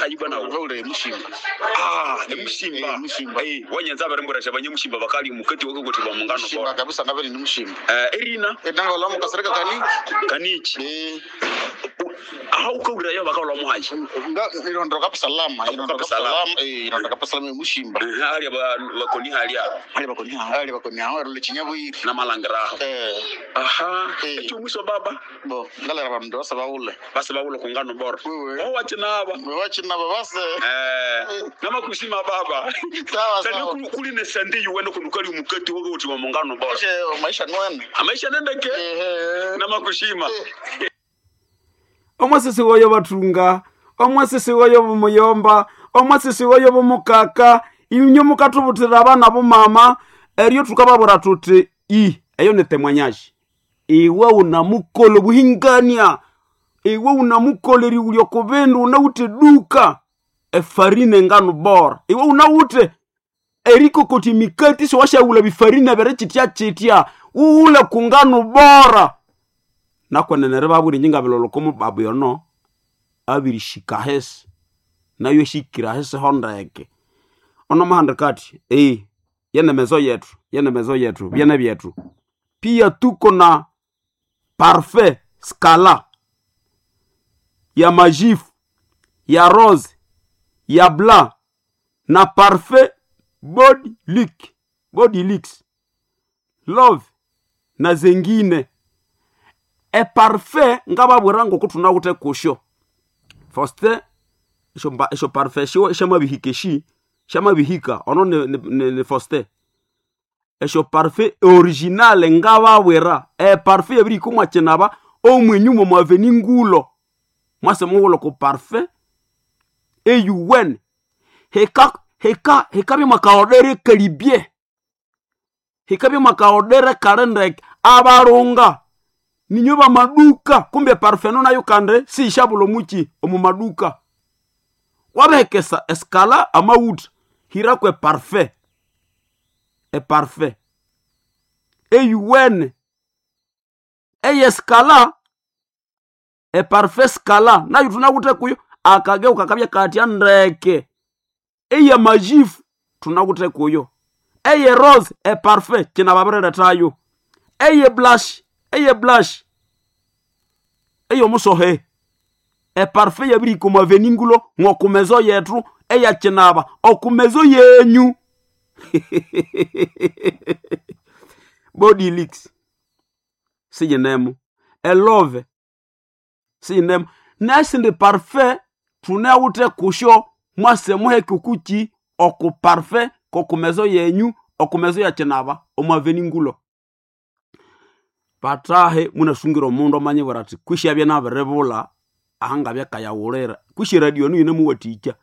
hayi bwana Vaule mushimba. Ah, emushimba. Eh, mushimba. Eh, wanyanza abarembera abanyamushimba bakali mukati wakakoti ba mungano Mushimba bora. kabisa ngaveri ni mushimba. Eh, erina Edanga olamu kasireka kani? kanichi. Eh, Aha ukaurira yo bakawula muhaji. nga ilondoka pasalama, ilondoka Kapasalama. pasalama, eh, ilondoka pasalama mushimba. Eh, hali ba bakoni hali Ali bakoni ha, ali bakoni ha, role chinyabwiri. na malangiraho. Eh, Aha, Eh. ekyo mwiso baba bo, ngalera bandu basa baule. base bawula kungano bora. Wewe. Oh wachinaba. Wachina babase. Eh, namakusima baba. Sawa Sani sawa. kuli ne sandi yuwene kunukali mukati wakakoti ba mungano bora. Maisha maisha nwene. Amaisha nendeke Eh. namakushima. Omwasisi woyo bathunga, omwasisi woyo bumuyomba, omwasisi woyo bumukaka, inyo mukathubuthira abana bomama, eryo thukababwira thuthi i eyo ni temwanyashi. Iwe unamukola obuhingania, iwe unamukola erighulya oko bindu unawithe duka efarine engano bora, iwe unawithe erikokotya emikati siwasyaghulha bifarine biri kyitya kyitya, wughule ku ngano bora. Nakwenene ribabwira inje ngabilolha oko mubabu yono abirishika ahisi nayo eshikire ahisi ho ndeke. Ono muhandika athi yene mezo yethu, yene mezo yethu, byene byethu. Pia tuko na parfait scala ya majifu, ya rose, ya blanc na parfait body lick, body licks, love na zengine. Eparfait ngababwira ngoko thunawithe kusyo. Faustin esyo esyo parfait syo syamabihika eshi syamabihika ono ni Faustin. Esyo parfait original ngababwira eparfait yabirihika omwa kinaba omwenyuma omu avenue Ngulo. Mwase mughulha oko parfait eyuwene. Hika hika hikabya mwakaodere ekalibye. Hikabya mwakaodere kali ndeke abalunga ninyo bamaduka kumbe eparufe eno nayo kandi siyishabulha omuki omu maduka. Wabihekesa esikala amaghutha hiraku eparufe, eparufe eyuwene eyesikala, eparufe sikala nayo thunawithe kuyo akageu kakabya kathya ndeke. Eyamajifu thunawithe kuyo, eye rose eparufe kyinababirilethayo, eye blush, eye blush eyomusohe eparufe yabirihika omu avenue Ngulo ng'oku mezo yethu eyakinaba oku mezo yenyu. Body licks siyinemu, elove siyinemu nesindi parufe thunawithe kusyo mwase muheke okuki oku parufe koku mezo yenyu oku mezo yakinaba omu avenue Ngulo. Bathahe munasungira omundu amanyibwira athi kwisi abye nabiribulha ahangabya akayaghulira kwisi eradio enu yinemuwathikya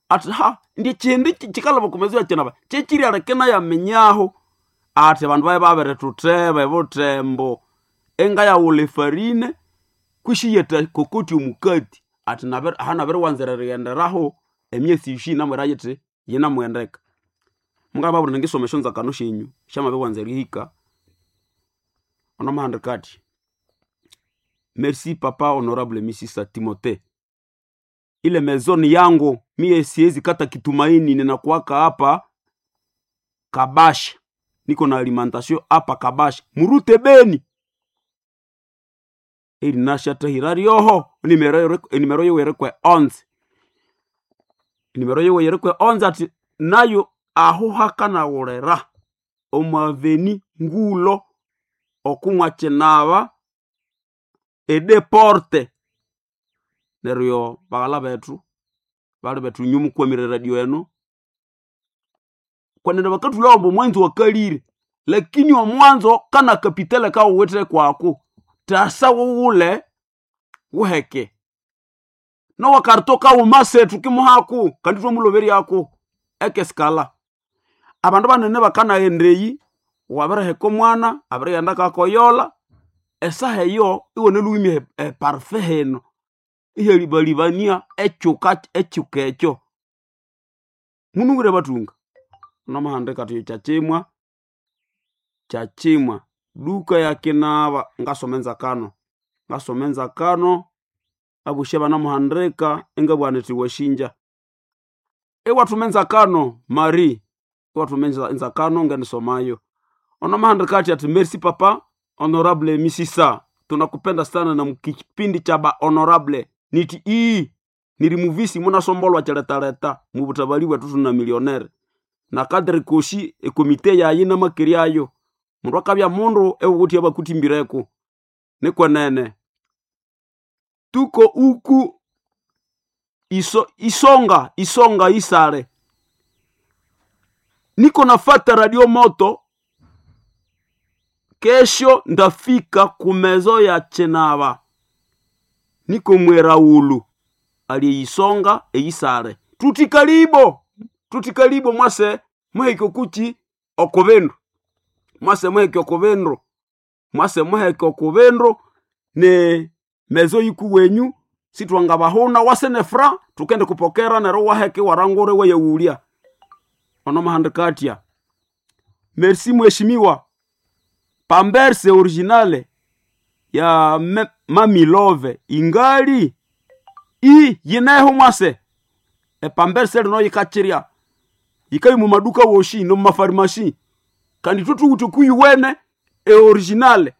athi ha indye kyindi kyikalaba oku mezo yakinaba kyekiryaleka inayaminyaho athi abandu babya babirithutheba ebuthembo engayaghulha efarine kwisi iyatha kokotya omukati athi aha nabiriwanzira erighenderaho emyesi ishi yinamwira yithi yinamughendeka. Mungababwira indi ngisoma esyonzakano syenyu syamabiriwanza erihika. Ono muhandika athi merci papa honorable misisa Timothée, ile maison yangu mie siwezi kata kitumaini, ninakuwaka hapa Kabasha, niko na alimentation hapa Kabasha murute Beni erinashathahira ryoho enimero yiwe irikwe 11, enimero yiwe irikwe 11 athi nayo aho hakanaghulira omu avenue Ngulo oku mwakinaba edeporte. Neryo baghalha bethu bali bethu inywe mukwamire eradio eno kwenene bakathulhawa ambu omwanzo wakalire lakini omwanzo kana kapitale kawuwithe kwaku thasa wughule wuheke nowakarito kawuma sethu kimuhaku kandi thwamuloberyaku ekesikala. Abandu banene bakanaghenda eyi wabiriheka omwana abirighenda kakoyolha esaha eyo iwunalhuwimya eparufe hino ihyalibalibania ekyuka ekyuka ekyo. Munungire bathunga nomuhandika athi kyakyimwa, kyakyimwa duka yakinaba ngasoma enzakano, ngasoma enzakano abosi abanamuhandika ingabugha nithi wasinja. Iwathuma enzakano Marie, iwathuma enzakano nganisomayo. Ono mahandika ati merci papa honorable Misisa, tunakupenda sana na mukipindi cha ba honorable niti ii niri muvisi munasombolwa kyaletaleta mubutabali bwetu tuna millionaire na kadri koshi ekomite yayi namakeri ayo mundu akabya mundu ewukuthi abakutimbireko nikwenene tuko uku isonga isonga isale niko nafata radio moto kesho ndafika kumezo ya chenava niko mweraulu aliyeisonga eyisale tutikalibo tutikalibo mwase muheke kuchi okubindu mwase muheke okubindu mwase muheke okubindu ne mezo yiku wenyu sitwangabahuna wase ne fra tukende kupokera nero waheke warangure weyewulya ono mahandikatia merci mheshimiwa pamberse originale ya mamilove ingali i yineho mwase epamberse lino yikachirya yikayi mumaduka woshi no mumafarimasi kandi tutuwuti kuyuwene eoriginale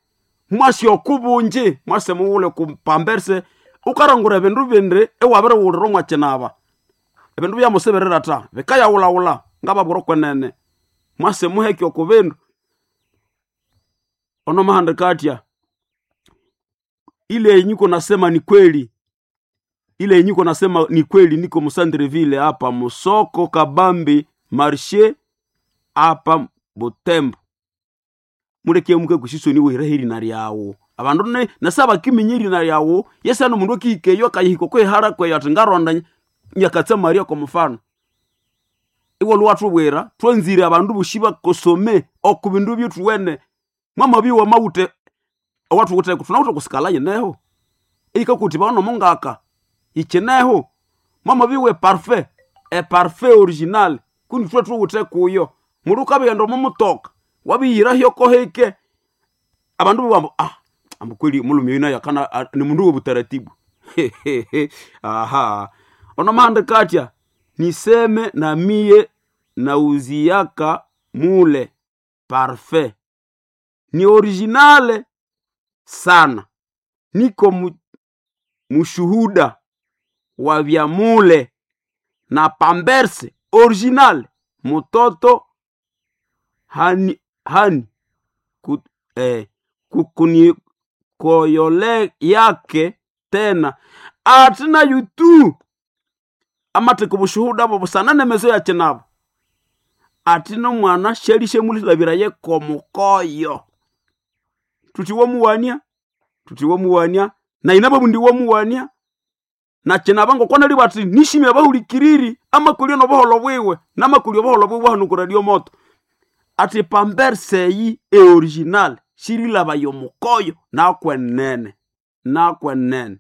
mwasi okubunji mwase muwule kupamberse ukarangura ebindu bindi ewabiriwulira omwakinaba ebindu byamusibirira ta bikayawulawula ngababwira okwenene mwase muheke okubindu ono mahandika atya ile yenyuko nasema ni kweli ile yenyuko nasema ni kweli niko musandreville hapa musoko kabambi marshe hapa butembo muleke muke kusisoni wira irina lyawo abandu ne nasaba kiminya irina lyawo yesano mundu akihikeyo akayihika kwehara kweyo ati ngaronda nyakatsa maria kwa mfano iwe lwatubwira twanzire abandu boshi bakosome oku bindu byethuwene mwamabiwa mawuthe owathuwitheko thunawithe kusikala yineho eyikakuthi baono mungaka yikineho mwamabiwa eparfait eparfait original kundi thwe thuwithe kuyo mundu ukabighenda omo mutoka wabiyira kohike abandu bawambu ah ambu kweli mulumi yuno yakana ni mundu wobutaratibu aha ono mahandika atya niseme na miye nauziaka mule parfait ni originale sana niko mushuhuda wa vya mule na pamberse original mutoto hani, hani ku, kukuni koyole yake tena atina yutu amateka obushuhuda bwo busana nemezo ya kinabo ati nomwana shelishe mulilabira yekomukoyo tuti womuwania tuti womuwania na inabo bundi womuwania na kinaba ngokwana libwa ati nishimya bahulikiriri amakulio nobuholo bwiwe namakulio obuholo bwiwe hano ku radio moto ati pamberseyi eoriginal shirilaba yomukoyo nakwenene nakwenene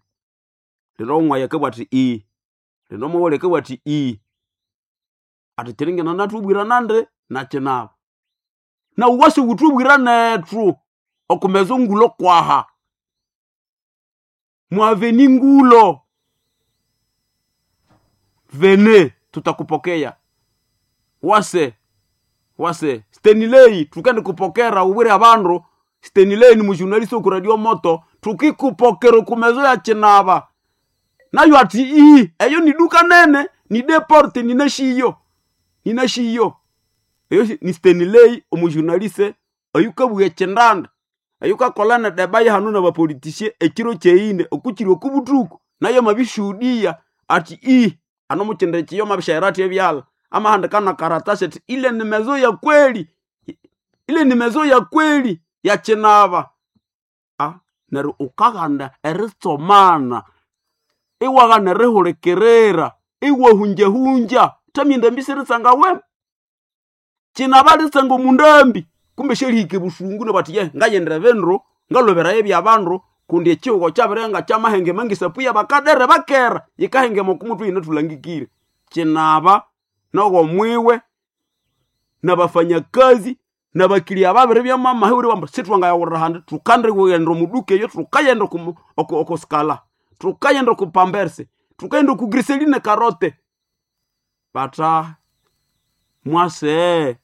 lero omwaya kebwa ati ii lero omwawole kebwa ati ii ati chiringena natubwira nande nakinaba na uwasi wutubwira nethu okumeza ngulo kwaha mwaveni ngulo vene tutakupokea wase wase stenilei tukende kupokera ubwire abandu stenilei ni mujurnalist oku radio moto tukikupokera okumezo ya chinaba nayo ati ii eyo ni duka nene ni deporte ninashiyo ninashiyo eyo ni stenilei omujurnaliste oyukabugha chindanda oyukakola na deba hanu na bapolitisie ekiro kyeine okukiri okubutuku nayo mabishuhudia ati ii ano muchinde chiyo mabishaira ati ebyala amahandika na karatasi ati ile ni mezo ya kweli ile ni mezo ya kweli ya chinaba ah neryo ukaghanda eritsomana iwaghana erihulikirira iwahunjahunja tamyenda mbisi ritsanga we chinaba ritsanga omundambi kumbe syerihika ebusungu nabati ye ngayendera ebindu ngaloberayo ebyabandu kundi ekihugo kyabirenga kyamahengema ngesapu yabakadere bakera yikahengema okumuthu yine thulangikire kinaba nogomwiwe nabafanyakazi nabakilia babiri byamamahuri bamba sithwangayawurira handi thukandikughenda omuduka eyo thukayenda okusikala thukayenda okupamberse thukayenda okugriseline karote. Bata mwase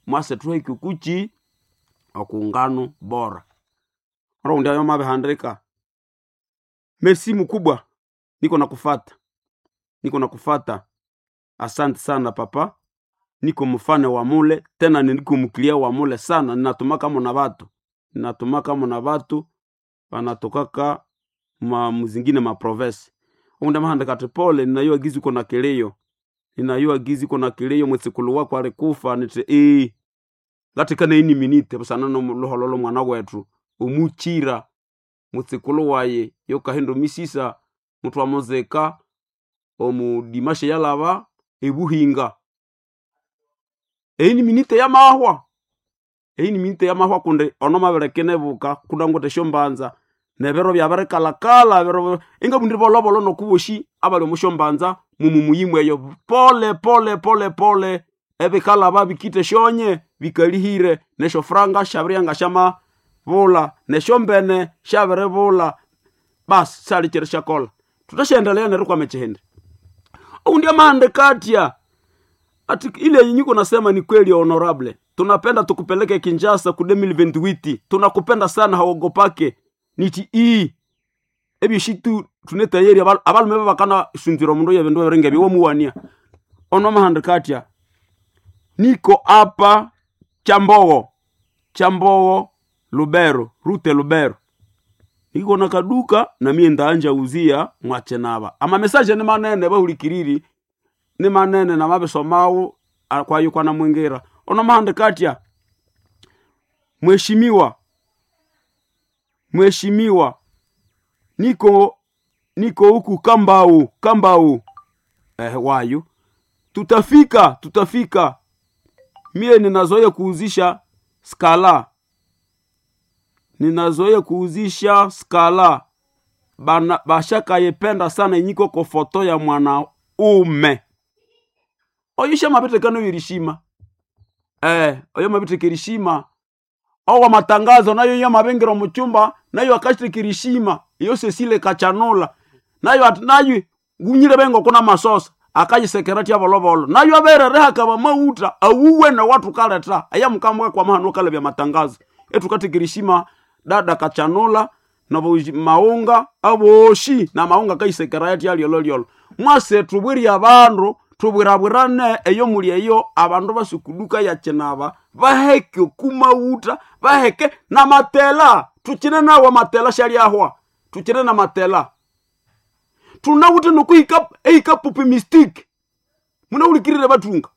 mwase tuheke kuchi okungano bora. Oro ndio mabihandika. Merci mkubwa, niko nakufata, niko nakufata. Asante sana papa, niko mfane wa mule tena niko mkilia wa mule sana. Ninatumaka mona batu, ninatumaka mona batu banatokaka ma muzingine ma province. Unda mahandika ati pole, ninayua gizi uko na kilio, ninayua gizi uko na kilio, mwitsikulu wako alikufa niti ee ngatikana ini minite busana nomulohololo mwana wetu omuchira mutsikulu waye yokahindu misisa muthu amuzika omudimashe yalaba ebuhinga. Eini minite yamahwa, eini minite yamahwa kundi ono mabirekenebuka kunangwete esyombanza nebiro byabirikalakala biro ingabundire bolobolo nokuboshi abali omu syombanza mumumuyimu eyo pole pole pole pole ebikalaba bikite esyonye bikalihire nesyofuranga syabirya syamabulha nesyombene syabiribulha. Basi sali kyiri syakolha tuthasyaendelea nerikwama ekyihindi. Oundi amahandika atya ati ile yenye niko nasema ni kweli honorable, tunapenda tukupeleke Kinshasa ku 2028 tunakupenda sana hauogopake. Niti ii ebishitu tunetayeri abalume babakana sunzira omundu yebindu ebiringa ebyo womuwania. Ono amahandika atya niko apa Chambogo, Chambogo Lubero, Rute Lubero, niko na kaduka na mie ndaanja uzia mwachenaba. Ama message ni manene bahulikiriri ni manene na mabisomawo kwayo kwana mwingira. Ono mahandika atya mheshimiwa, mheshimiwa niko niko huku Kambau, Kambau wayo tutafika, tutafika. Mie ninazoea kuuzisha skala, ninazoea kuuzisha skala bana bashakayependa sana inyiko kofoto ya mwanaume oyo shamabitekano irishima oyo mabitekirishima owa matangazo nayo yo mabengero muchumba nayo akashirikirishima iyo Cecile Kachanula nayo ati nayo gunyire bengo kuna masosa akayisekerati abolobolo nayo aberereha kaba mauta awuwe na watu kaleta aya mukambwe kwa mahano kale bya matangazo etukatikirishima dada Kachanula na maunga aboshi na maunga kayisekerati alyololiolo mwase tubwiri abandu tubwirabwirane eyo muli eyo abandu basukuduka yakinaba baheke kumauta baheke na matela tukine nawo matela shalyahwa tukine na matela tunawute nokuhika ehika pupi mistake munaulikirire batunga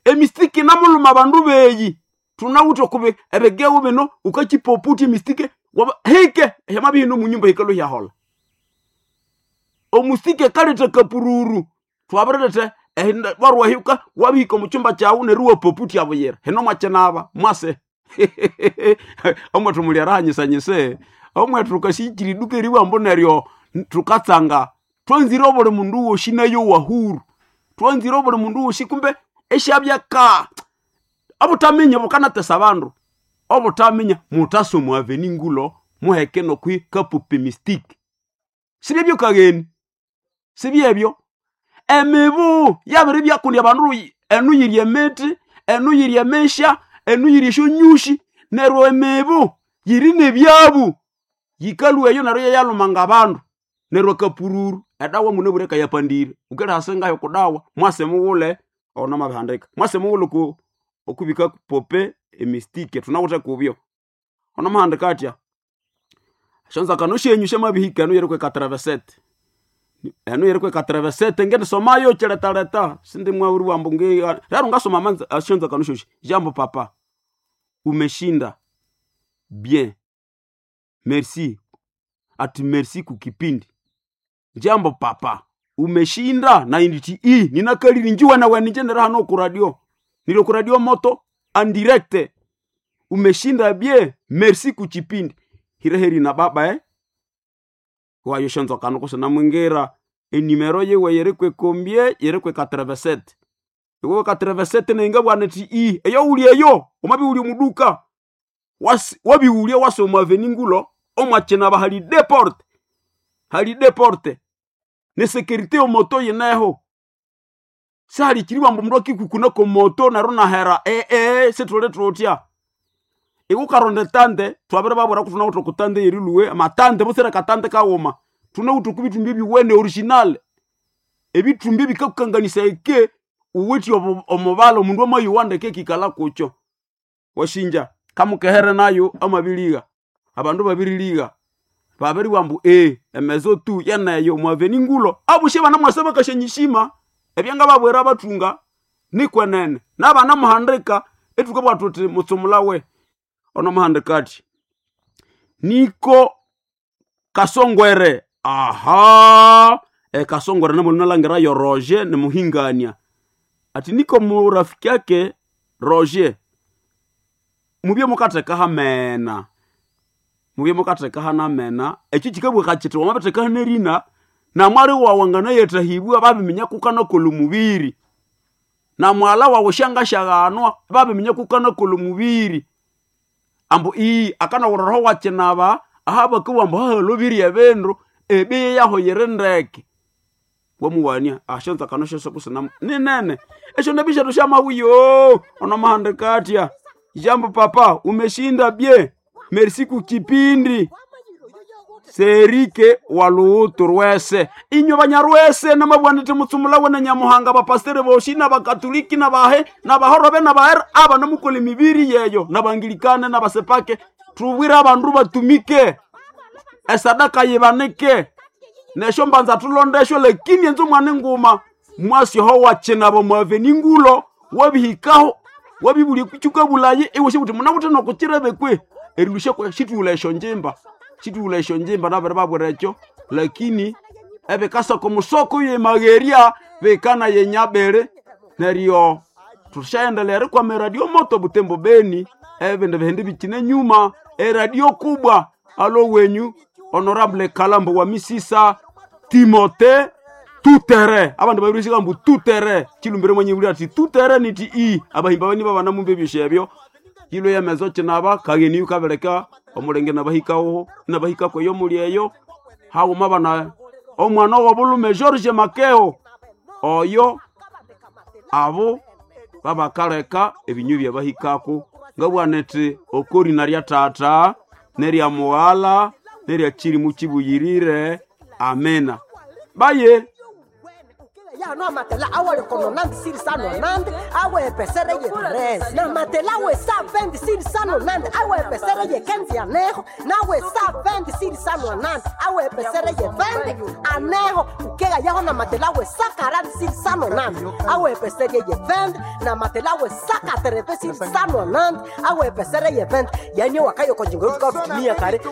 emistake namuluma bandu beyi tunawute kube ebegewo bino ukachipoputi mistake waba hike hyamabihino munyumba hikalo hyahola omustike kaleta kapururu twabirete warwahiuka wabihika omuchumba kyawu neryo wapoputi abuyira hino mwakinaba mwase omwethu muli arahanyisanyise omwethu tukashichira iduka eriwambo neryo tukatsanga twanzire obuli mundu woshi nayo wahuru twanzire obuli mundu woshi kumbe eshabyaka obutaminya bukanatesa abandu obutaminya mutasoma aveni ngulo muheke nokwi kapupi mistake sibyebyo kageni sibyebyo emibu yabiri byakundi abandu enu yiri emiti enu yiri emesha enu yiri esyonyushi neryo emibu yiri nebyabu yikalwa eyo neryo yayalumanga abandu neryo akapururu edawa munabwire kayapandire ukerihasa ngayo kudawa mwase mughule ono mabihandika mwase mughule ku okubika pope emistike tunawithe kubyo ono mahandika atya esyonzakano syenyu syamabihika enu yiri kwekatrevesete enu yiri kwekatrevesete ngendisomayo kyiletaleta sindi mwawuri wambu ngi rero ngasoma manza esyonzakano syosi. Jambo papa, umeshinda bien, merci ati merci kukipindi. Jambo papa, umeshinda na inditi i ninakalili njiwa na weninje nera hano ku radio nilo ku radio moto en direct. Umeshinda bien, merci kuchipindi hireheri na baba wayo shonzo kano kusana mwingira enimero yewe yeri kwekombie yeri kwe 87 iwe 87 nenga bwana ti i eyo uli eyo omabi uli muduka wabiulia wasoma avenue omwachina bahali deporte hali deporte ne sécurité omoto yeneho. Sihali kiribwa mbu mundu akikukuna komoto neryo nahera ee situli tutya. Iwukaronda etande twabiri babwira ku thunawithe okutande yerilhuwe amatande butsire katande kaghuma. Thunawithe oko bithumbi ebyuwene original. Ebithumbi ebikakukanganisa eke uwithe omubala omundu amayowa ndeke ekikalha kukyo. Wasinja kamukehere nayo amabirigha. Abandu babirigha. Babiribugha ambu emezo tu yeneyo omwaveni ngulo. Abosi abanamwasa bakasyanyishima ebyangababwira abathunga nikwenene. Nabanamuhandika ithukabugha thuthi mutsumulawe onomuhandika athi niko Kasongwere aha Kasongwere namulinalangira Roger nimuhingania ati niko murafiki ake Roger mubye mukatheka hamena mubye mukatheka hanamena ekyo kikabugha kiti wamabitheka hanerina namwali wawu anganayethahibwa babiminya kukanakolha omubiri namwala wawu syangasyaghanwa babiminya kukanakolha omubiri ambu akanawulha roho wakinaba aha bakabugha ambu hahalobirye ebindu ebeyi yaho yiri ndeke wamuwania asyonzakano syosi kusina ninene esyo ndambi syethu syamabuyo onomuhandika atya jambo papa umeshinda bye merci kukipindi serike waluhutu rwese inywe banyarwese namabugha ndithi mutsumulawe na nyamuhanga bapastere boshi nabakatoliki nabahe nabahorobe nabahere aba namukola emibiri yeyo nabangilikane nabasepake tubwire abandu batumike esadaka yibanike nesyo mbanza tulondesyo lakini enzo mwana nguma mwasyoho wakinaba mwaveni ngulo wabihikaho wabibulya kukyukabulaye iwe sibuti munawithe nokukirebe kwe erilusya situwula esyo njimba situwula esyo njimba nabiri babwira ekyo lakini ebikasaka omusoko yemagherya bikana yenyabere neryo tushaendelea erikwama eradio moto Butembo Beni ebindi bihindi bikine nyuma eradio kubwa alo wenyu honorable Kalambo wa Misisa Timote tutere abandu babirishika mbu tutere chilumbire mwenye buli ati tutere niti i abahimba bani babana mumbe byosho ebyo kilo ya mezo chinaba kageni yukabereka omulenge nabahikaho nabahikako eyo muli eyo haguma bana omwana wobulume George Makeo oyo abo babakaleka ebinyu byabahikako ngabwana eti okorina lya tata nerya mughala nerya chirimu chibuyirire amena baye ya no amatela awole kono nandi siri sano nandi awe pesere ye tres na matela we sa vendi siri sano nandi awe pesere ye kenzi anejo na we sa vendi siri sano nandi awe pesere ye vendi anejo ukega yaho na matela we sa karandi siri sano nandi awe pesere ye vendi na matela we sa katerepe siri sano nandi awe pesere ye vendi yani wakayo konjingo tukatumia kare.